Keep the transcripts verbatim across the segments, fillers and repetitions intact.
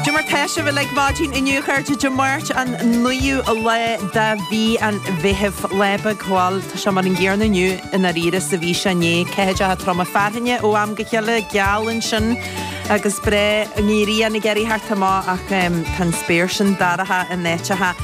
Cad é mar tá sibh uilig maidin inniu a chairde Dé Máirt an naoú lá de mhí an Mheithimh lá beag bhuel tá sé mar an gcéanna inniu i ndáiríre is a bhí sé inné ceathaideacha troma fearthainne ó am go chéile geal ansin agus breá an ghrian ag iarraidh theacht amach ach tá an spéir sin dorcha in áiteacha.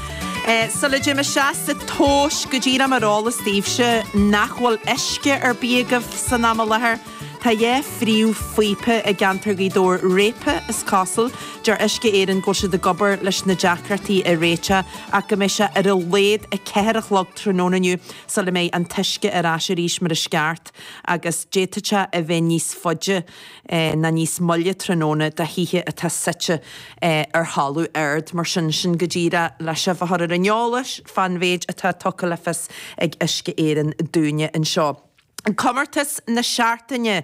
Sula dtéim isteach sa tomhas go díreach mar eolas daoibhse nach bhfuil uisce ar bith agaibh san am i láthair. Tá dhá phríomhphíopa i gceantar Ghaoth Dobhair réabtha is cosúil. Deir Uisce Éireann go bhfuil siad ag obair leis na deacrachtaí a réiteach ach go mbeidh sé ar a laghad a ceathair a chlog tráthnóna inniu sula mbeidh an t-uisce ar ais arís mar is ceart agus d'fhéadfadh sé a bheith níos faide ná níos moille tráthnóna do thithe atá suite ar thalamh ard mar sin sin go díreach le sibh a chur ar an eolas fán mhéid atá tugtha le fios ag Uisce Éireann dúinne anseo. Comórtas na seachtaine.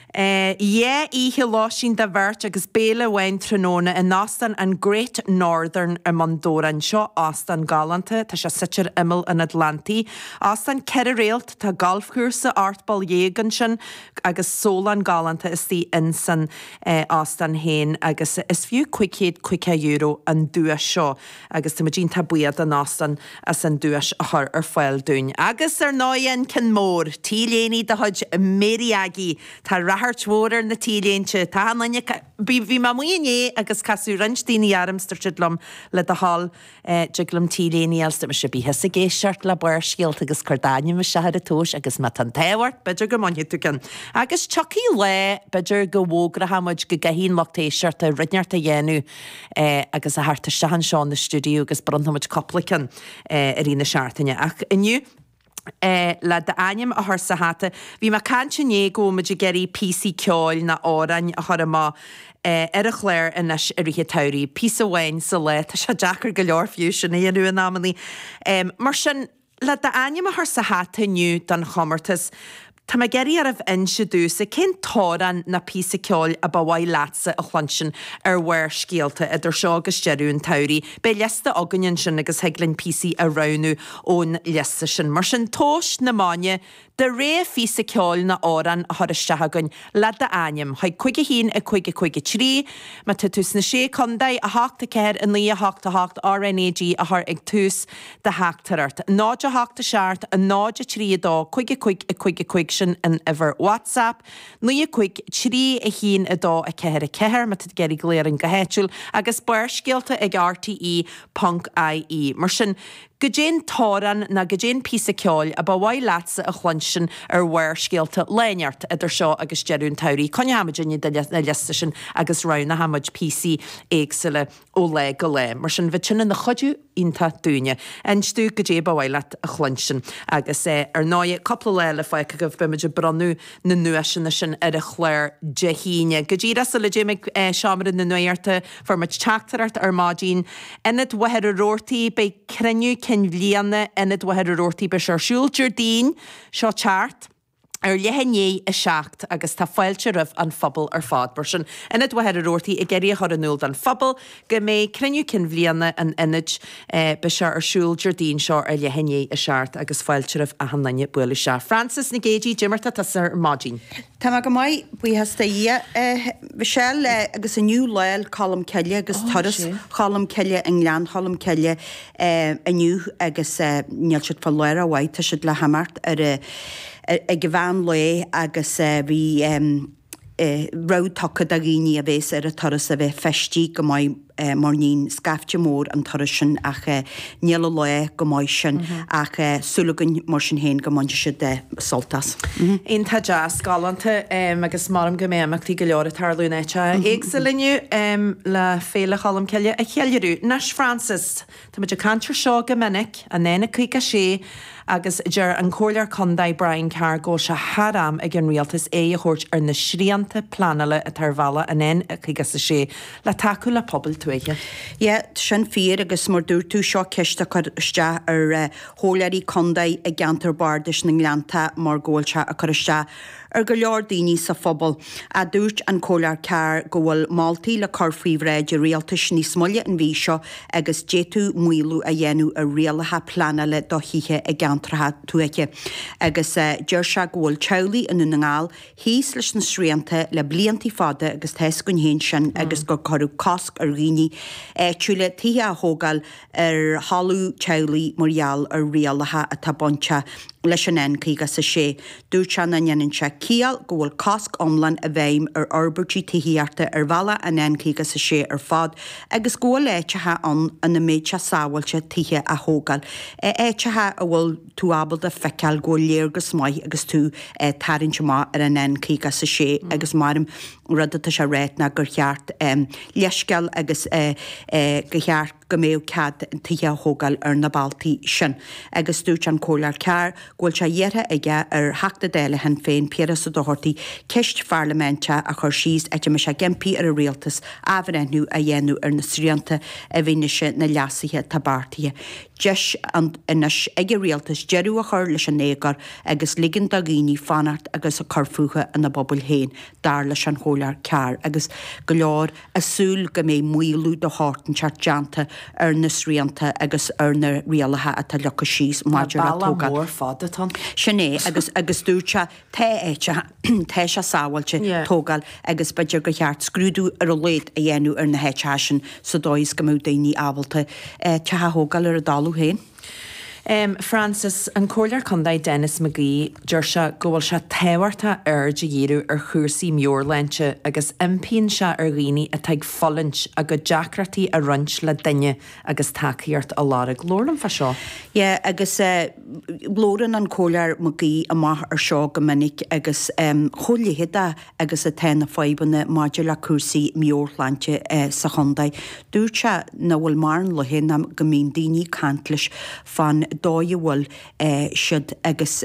Dhá oíche lóistín do bheirt agus béile amháin tráthnóna in Óstán an Great Northern i mBun Dobhráin. Seo óstán galánta, tá sé suite ar imeall an Atlantaigh. Óstán ceithre réalt, tá galfchúrsa ocht bpoll dhéag ansin agus sólán galánta istigh insan óstán féin agus is fiú cúig chéad caoga euro an duais seo agus tá muid iontach buíoch don óstán as an duais a chur ar fáil dúinn. Agus ar ndóigh an ceann mór, T-léine de chuid Mary Aggie. Tá ráchairt mhór ar na T-léinte. Tá an duine bhí bhí mé amuigh inné agus casadh roinnt daoine orm is dúirt siad liom le do thoil dtig liom T-léine a fháil mise bí thusa ag éisteacht le Barrscéalta agus cuir d'ainm isteach ar an tomhas agus má tá an t-ádh ort b'fhéidir go mbainfidh tú ceann. Agus tiocfaidh lá b'fhéidir go bhfógróidh muid go gcaithfidh an lucht éisteachta rud inteacht a dhéanamh agus a theacht isteach anseo na stiúideo agus bronnfaidh muid cúpla ceann i rith na seachtaine. Ach inniu le d'ainm a chur sa hata. Bhí mé ag caint inné go bhfuil muid ag iarraidh píosaí ceoil nó amhráin a chur amach ar an chlár anois i rith an tsamhraidh. Píosa amháin sa lá, tá sé deacair go leor fiú sin a dhéanamh in amannaí. Mar sin, le d'ainm a chur sa hata inniu don chomórtas, tá mé ag iarraidh oraibh inse domhsa cén t-amhrán nó píosa ceoil a ba mhaith leatsa a chluinstin ar Bharrscéalta idir seo agus deireadh an tsamhraidh. Beidh liosta againn ansin agus thig linn píosaí a roghnú ón liosta sin. Mar sin, tomhas na maidne do rogha phíosa ceoil nó amhrán a chur isteach againn le d'ainm chuig cúig a haon a cúig a cúig a trí, má tá tú sna sé contae, a hocht a ceathair a naoi a hocht a hocht RNAG a chur ag tús do theachtaireacht. Náid a hocht a seacht a náid a trí a dó cúig a cúig a cúig a cúig sin an uimhir WhatsApp, naoi a cúig trí a haon a dó a ceathair a ceathair má tá tú ag iarraidh glaoch orainn go háitiúil agus Barrscéalta ag RTE ponc IE. Mar sin, goidé an t-amhrán nó goidé an píosa ceoil a ba mhaith leatsa a chluinstin ar Bharrscéalta lá inteacht idir seo agus deireadh an tsamhraidh. Coinneoidh muid na liosta sin agus roghnóidh muid píosaí éagsúla ó lá go lá. Mar sin bheadh sin ina chuidiú iontach dúinne. Inis dúinn goidé ba mhaith leat a chluinstin. Agus ar ndóigh, cúpla lá eile fágtha agaibh, beidh muid ag bronnadh na nduaiseanna sin ar an chlár Dé hAoine. Go díreach sula dtéim ag seomra na nuachta, fuair muid teachtaireacht ar maidin. Ionad Mhachaire Rabhartaigh, beidh cruinniú cinn bhliana Ionad Mhachaire Rabhartaigh, beidh sé ar siúl Déardaoin seo teacht ar leath i ndiaidh a seacht agus tá fáilte roimh an phobal ar fad. Mar sin, Ionad Mhachaire Rabhartaigh ag iarraidh a chur in iúl don phobal go mbeidh cruinniú cinn bhliana an ionaid, beidh sé ar siúl Déardaoin seo ar leath i ndiaidh a seacht agus fáilte roimh achan duine bualadh isteach. Frances Nic Géadaigh, goidé mar tá tusa ar maidin. Tá mé go maith, buíochas do Dhia. Michelle, agus inniu Lá Cholm Cille agus turas Cholm Cille i nGleann Cholm Cille inniu agus níl siad fá lár a mhaith, tá siad le himeacht ar ag an mheán lae agus bhí rabhadh tugtha do dhaoine a bhéas ar an turas a bheith feistithe go maith mar níonn scaifte mór an turas sin ach níl an lá go maith sin ach súil againn mar sin féin go mbainfidh siad sult as. Iontach deas, galánta agus measaim go mbeidh imeachtaí go leor ag tarlú in áiteacha éagsúla inniu le Féile Cholm Cille a cheiliúradh. Anois Frances, Tá muid ag caint ar seo go minic, an N caoga sé, agus deir an Comhairleoir Contae Brian Carr go bhfuil sé thar am ag an Rialtas aghaidh a thabhairt ar na srianta pleanála atá ar bhealach an N caoga sé le tacú le pobail tuaithe. Yeah, sin fíor agus mar dúirt tú, seo ceist a chur isteach ar chomhairleoirí contae i gceantar bardais na nGleannta mar go bhfuil sé ag cur isteach ar go leor daoine sa phobal. A dúirt an Comhairleoir Carr go bhfuil moltaí le cur faoi bhráid an rialtais níos moille an mhí seo agus d'fhéadfadh maolú a dhéanamh ar rialacha pleanála do thithe i gceantracha tuaithe. Agus deir sé go bhfuil teaghlaigh i nDún na nGall thíos leis na srianta le blianta fada agus tá fhios againn féin sin agus gur cuireadh cosc ar dhaoine áitiúla tithe a thógáil ar thalamh teaghlaigh mar gheall ar rialacha atá bainteach leis an N caoga is a sé. Dúirt sé nach ndéanann sé ciall go bhfuil cosc iomlán i bhfeidhm ar fhorbairtí tithíochta ar bhealach an N caoga is a sé ar fad agus go bhfuil áiteacha ann ina mbeidh sé sábháilte tithe a thógáil, áiteacha a bhfuil tú ábalta feiceáil go bhfuil léargas maith agus tú ag tarraingt amach ar an N caoga is a sé agus mar rud atá sé a rá ná gur cheart leithscéal agus go cheart go mbeadh cead tithe a thógáil ar na bealtaí sin. Agus dúirt an Comhairleoir Carr go bhfuil sé iarrtha aige ar Theachta Dála Shinn Féin, Piaras Ó Dochartaigh, ceist pharlaiminteach a chur síos áit a mbeidh sé ag impí ar an Rialtas athbhreithniú a dhéanamh ar na srianta i bhfianaise na leasuithe atá beartaithe. Deis anois ag an Rialtas deireadh a chur leis an éagóir agus ligean do dhaoine fanacht agus cur fúthu ina bpobail féin, dar leis an Chomhairleoir Carr, agus go leor ag súil go mbeidh maolú de shórt inteacht déanta ar na srianta agus ar na rialacha atá leagtha síos maidir le tógáil. Tá bealach mór fada ann. Sin é, agus agus dúirt sé, tá áiteacha, tá sé sábháilte tógáil agus b'fhéidir gur cheart scrúdú ar a laghad a dhéanamh ar na háiteacha sin sa dóigh is go mbeadh daoine ábalta teach a thógáil ar a dtalamh féin. Frances, An Comhairleoir Contae Denis McGee, deir sé go bhfuil sé tábhachtach aird a dhíriú ar chúrsaí meabhairshláinte agus impíonn sé ar dhaoine atá ag fulaingt a gcuid deacrachtaí a roinnt le duine agus tacaíocht a lorg. Labhair liom fá seo. Yeah, agus labhrann an Comhairleoir McGee amach ar seo go minic agus chomh leitheadach agus atá na fadhbanna maidir le cúrsaí meabhairshláinte sa chontae. Dúirt sé nach bhfuil mórán laetha ná go mbíonn daoine ag caint leis fán dóigh a bhfuil siad agus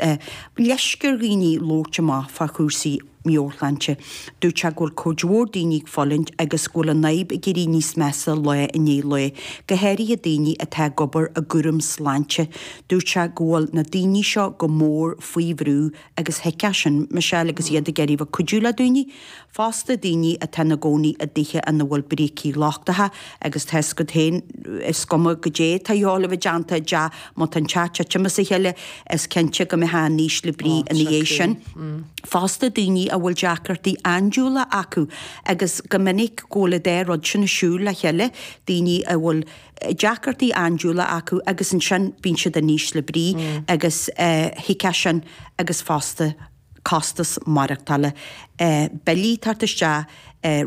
leisce ar dhaoine labhairt amach fá chúrsaí meabhairshláinte. Dúirt sé go bhfuil cuid mhór daoine ag fulaingt agus go bhfuil an fhadhb ag éirí níos measa lá i ndiaidh lae, go háirithe daoine atá ag obair i gcúram sláinte. Dúirt sé go bhfuil na daoine seo go mór faoi bhrú agus thuigfeá sin, Michelle, agus iad ag iarraidh bheith ag cuidiú le daoine. Fosta daoine atá ina gcónaí i dtithe ina bhfuil brící lochtacha agus tá fhios agat féin, is cuma goidé atá a dhíobháil a bheith déanta i dteach, má tá an teach ag titim as a chéile, is cinnte go mbeifeá in ísle brí ina dhiaidh sin. Fosta daoine a bhfuil deacrachtaí andúile acu agus go minic go bhfuil an dá rud sin ag siúl le chéile, daoine a bhfuil deacrachtaí andúile acu agus ansin bíonn siad in ísle brí agus thuigfeá sin agus fosta costas maireachtála, billí ag teacht isteach,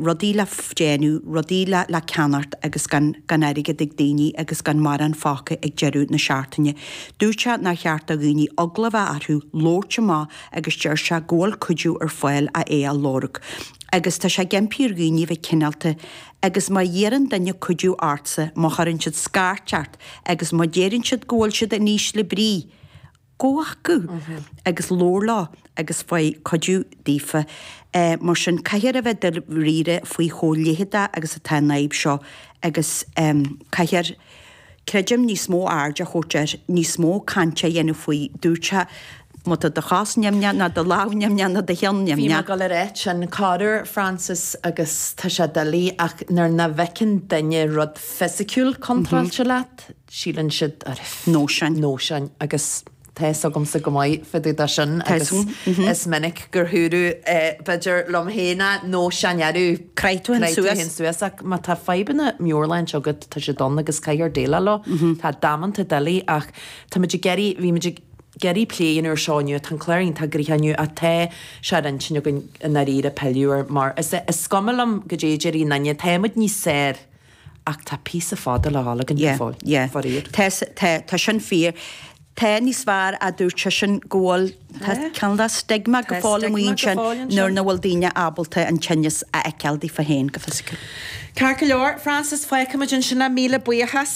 rudaí le déanamh, rudaí le ceannacht agus gan gan airgead ag daoine agus gan mórán fágtha ag deireadh na seachtaine. Dúirt sé nár cheart do dhaoine eagla a bheith orthu labhairt amach agus deir sé go bhfuil cuidiú ar fáil ach é a lorg. Agus tá sé ag impí ar dhaoine a bheith cineálta agus má iarrann duine cuidiú ortsa, má chuireann siad scairt ort agus má deireann siad go bhfuil siad in ísle brí, gabh chucu agus labhair leo agus faigh cuidiú daofa. Mar sin, caithfear a bheith dáiríre faoi chomh leitheadach agus atá an fhadhb seo agus caithfear, creidim, níos mó aird a thabhairt air, níos mó cainte a dhéanamh faoi. Dúirt sé, má tá do chos nimhneach ná do lámh nimhneach ná do cheann Bhí mé nimhneach. ag dul a ráit sin corruair, Frances, agus tá sé doiligh ach nuair nach bhfeiceann duine rud fisiciúil contráilte leat, síleann siad, Nóisean. Nóisean agus tá fhios agamsa go maith fá dtaobh de sin agus is minic gur dúradh b'fhéidir liom féin é, nóisean arú, Crith tú crith tú suas. féin suas ach má tá fadhbanna meabhairshláinte agat tá siad ann agus caithfear déileáil leo. Tá damanta doiligh ach tá muid ag iarraidh, bhí muid ag iarraidh plé a dhéanamh ar seo inniu, tá an clár iontach gnoitheach inniu ach tá sé ar intinn againn i ndáiríre pilleadh air mar is is cuma liom goidé a déarfaidh aon duine, tá muid níos saor ach tá píosa fada le dhul againn go Yeah, fóill, yeah. faraor. Tá, tá, tá sin fíor. Tá níos fearr a dúirt seisean go bhfuil tá cineál de stigma go Tá fóill amuigh stigma go ansin fóill ansin. nuair nach bhfuil daoine ábalta an tinneas a fheiceáil daofa féin go fisiciúil. Ceart go leor, Frances, fágfaimid ansin é, míle buíochas.